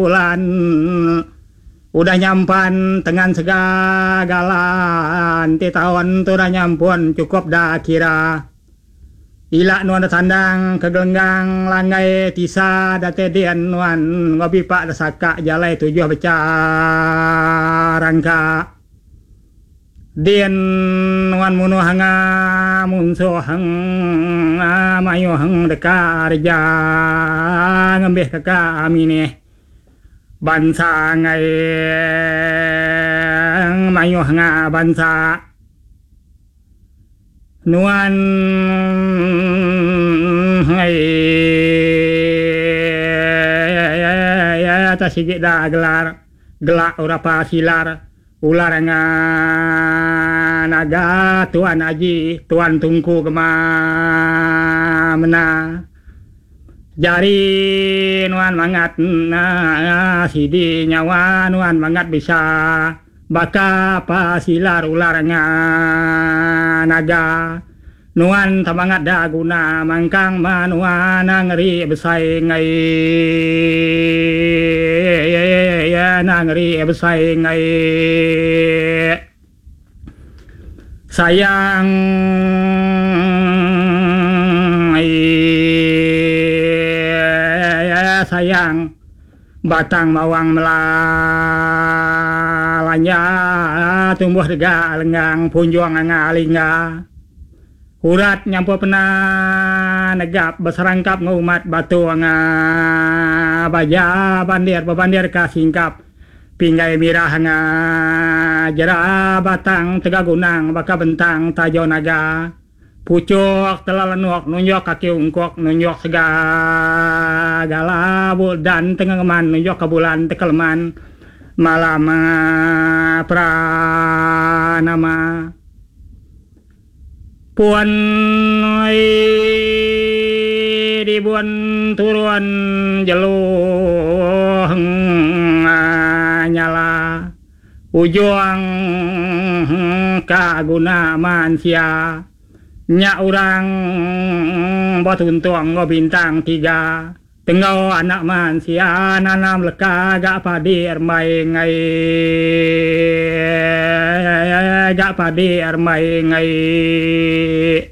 Bulan udah nyampan tengan segala enti taun tu udah nyampun chukup da kira. Ila nuan da tandang ke gelenggang langgai tisa datai din nuan enggau bipa da saka jalai tujuh becha rangka. Din nuan munuh anga munsuh mayuh deka reja ngembih ke ka minih bansa enggai mayuh nga bansa nuan enggai ta sigi da gelar gela urapa silar. Ular enga naga tuan aji tuan tungku gema mena jari nuan mangat sidi nyawa nuan mangat bisa baka pa silar ular enga naga nuan temangat da guna mangkang menua nengeri besai enggai nengeri besai enggai sayang sayang. Batang bawang melalanja tumbuh dega lenggang punjung anga lingga. Urat nyampur pena negap beserangkap enggau umat batu anga baja bandir bebandir ka singkap pinggai mirah anga jera batang tega gunang baka bentang tajo naga. Puchuk tela lenuk nunjuk kaki ungkuk nunjuk segala dan tengengeman nunjuk ke bulan tekeleman malam pranama pun dibun turun jelu nyala. Ujung ka guna mansia nya orang betuntung enggau bintang tiga tenggau anak mansia nanam leka ga padi ermbai enggai ga padi ermbai enggai.